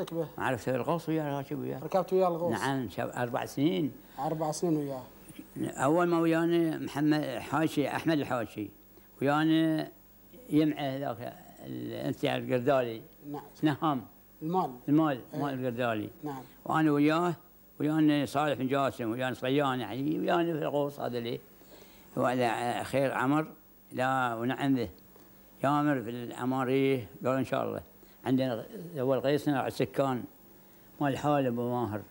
به؟ عرفت الغوص وياه، راكب وياه. ركبت وياه الغوص؟ نعم 4 سنين. 4 سنين وياه. أول ما ويانا محمد حاشي، أحمد الحاشي ويانا يمعه ذاك أنت القردالي. نعم. نهام. المال القردالي. نعم. وأنا ويانا صالح بن جاسم، ويانا صيان يعني، ويانا في الغوص هذا اللي هو خير عمر. لا ونعم به يامر في العمارية، قال إن شاء الله عندنا هو القيصنا السكان مال حالب أبو ماهر.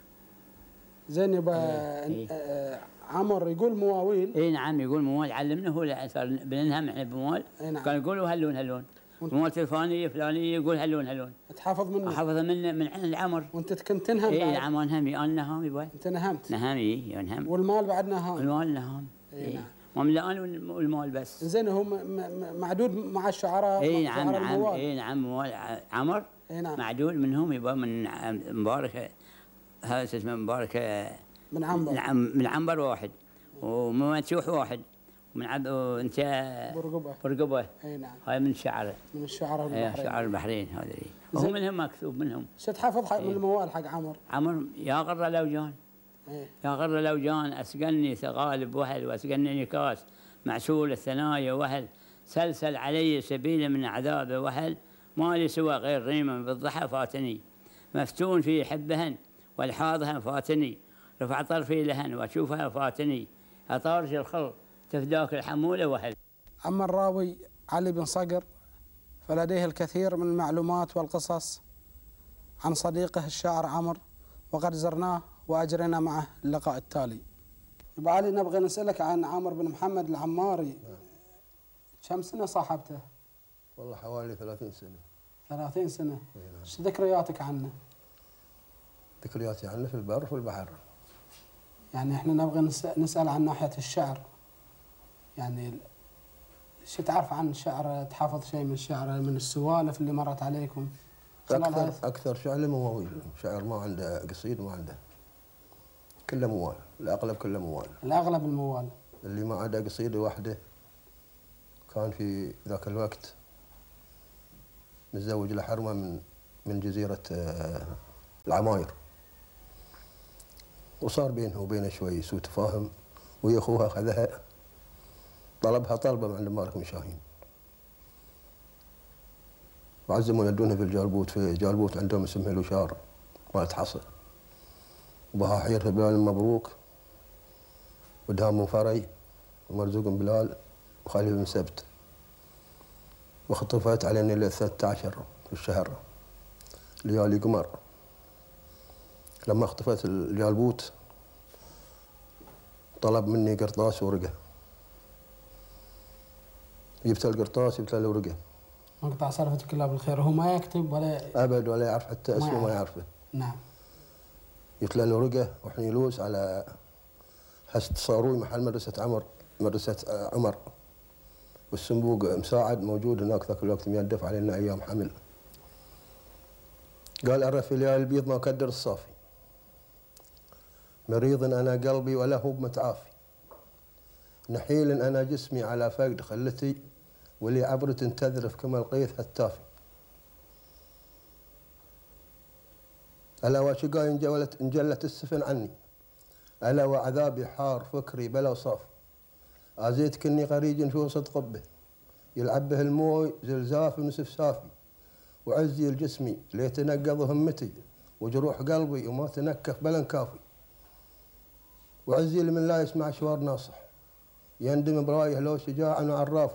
زين يبا. عمر يقول مواويل. اي نعم يقول موال، علمنا هو بننهم احنا بموال. نعم. كان يقول هلون موال الفلانيه فلانيه يقول هلون. تحافظ منه؟ احفظ منه من عند العمر. وانت كنت تنهم؟ اي نعم انهمي، انا نهامي باي. انت نهمت؟ نهامي انهم. والمال بعد نهام؟ المال نهام. اي نعم. مملان والمال بس. زين هو معدود مع الشعراء؟ اي نعم اي نعم موال عمر. اي نعم. معدود منهم يبقى من مبارك، هذا اسمه مبارك من عنبر. نعم من عنبر واحد، ومنسوح واحد، وانت برقبه. اي نعم. هاي من الشعراء. من الشعراء البحرين. شعراء البحرين هذا هو منهم مكتوب منهم. شو تحافظ من الموال حق عمر؟ يا غر لوجان. يا غر لوجان اسقني ثغالب وهل، واسقني نكاس معسول الثنايا وهل، سلسل علي سبيل من عذاب وهل، ما لي سوى غير ريما بالضحى فاتني، مفتون في حبهن والحاضها فاتني، رفع طرفي لهن واشوفها فاتني، اطارش الخل تفداك الحموله وهل. اما الراوي علي بن صقر فلديه الكثير من المعلومات والقصص عن صديقه الشاعر عمر، وقد زرناه واجرينا معه اللقاء التالي. ابو علي نبغي نسالك عن عمرو بن محمد العماري. كم سنه صاحبته؟ والله حوالي 30 سنه. 30 سنه. ايش ذكرياتك عنه؟ ذكرياتي عنه في البر وفي البحر. يعني احنا نبغي نسال عن ناحيه الشعر، يعني شو تعرف عن الشعر؟ تحفظ شيء من الشعر، من السوالف اللي مرت عليكم؟ اكثر شعر مواويل، شعر ما عنده قصيد، ما عنده، كله موال، الاغلب كله موال. الاغلب الموال. اللي ما عنده قصيده واحده كان في ذاك الوقت متزوج لحرمه من جزيره العماير، وصار بينه وبينه شوي سوء تفاهم، ويا اخوها اخذها طلبها طلبه من عند مالك بن شاهين، وعزموا يدونها في الجالبوت. في جالبوت عندهم اسمها الوشار مالت حصى، وبها حيرها بلال المبروك ودهام بن فري ومرزوق بن بلال وخليل بن سبت، وخطفت على الليله 13 في الشهر ليالي قمر. لما اختفت الجالبوت طلب مني قرطاس ورقه، جبت القرطاس جبت له الورقه. مقطع صرفتك الله بالخير. هو ما يكتب ولا ابد، ولا يعرف حتى اسمه، ما يعرفه. نعم. جبت له الورقه وحنيلوس على هسه صاروي محل مدرسه عمر، والصندوق مساعد موجود هناك ذاك الوقت ميدف علينا ايام حمل. قال أرى في ليالي البيض ما كدر الصافي، مريض أنا قلبي ولا هو بمتعافي، نحيل أنا جسمي على فقد خلتي، ولي عبرة تذرف كما القيث هتافي. ألا وشقاي انجلت السفن عني، ألا وعذابي حار فكري بلا صافي، آزيت كني قريج في وسط قبه، يلعب به الموي زلزاف وسفسافي، وعزي الجسمي ليتنقض همتي، وجروح قلبي وما تنكف بلا انكافي، وعزي لمن لا يسمع شوار ناصح، يندم برايه لو شجاع وعراف،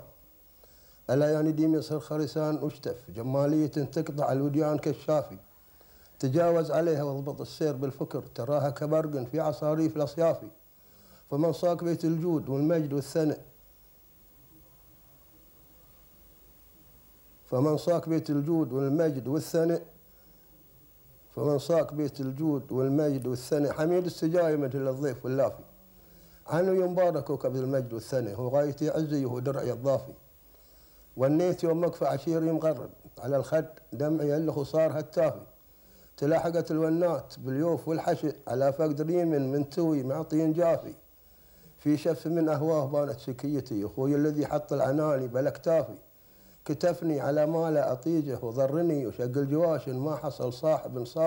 ألا يا نديم يصير خرسان واشتف، جمالية تقطع الوديان كالشافي، تجاوز عليها واضبط السير بالفكر، تراها كبرق في عصاريف الأصيافي، فمن صاك بيت الجود والمجد والثناء، فمن صاك بيت الجود والمجد والثناء، فمن صاك بيت الجود والمجد والثناء، حميد السجايا مثل الضيف واللافي، عنه ينبارك كوكب المجد والثناء، هو غايتي عزي وهو درعي الضافي، ونيت يوم مكفى عشيري مغرب، على الخد دمعي اللخ صار هتافي، تلاحقت الونات باليوف والحشئ، على فقد ريم من توي معطي جافي، في شف من أهواه بانت شكيتي، أخوي الذي حط العناني بالاكتافي، كتفني على ما لا أطيجه وضرني، وشق الجواشن ما حصل صاحب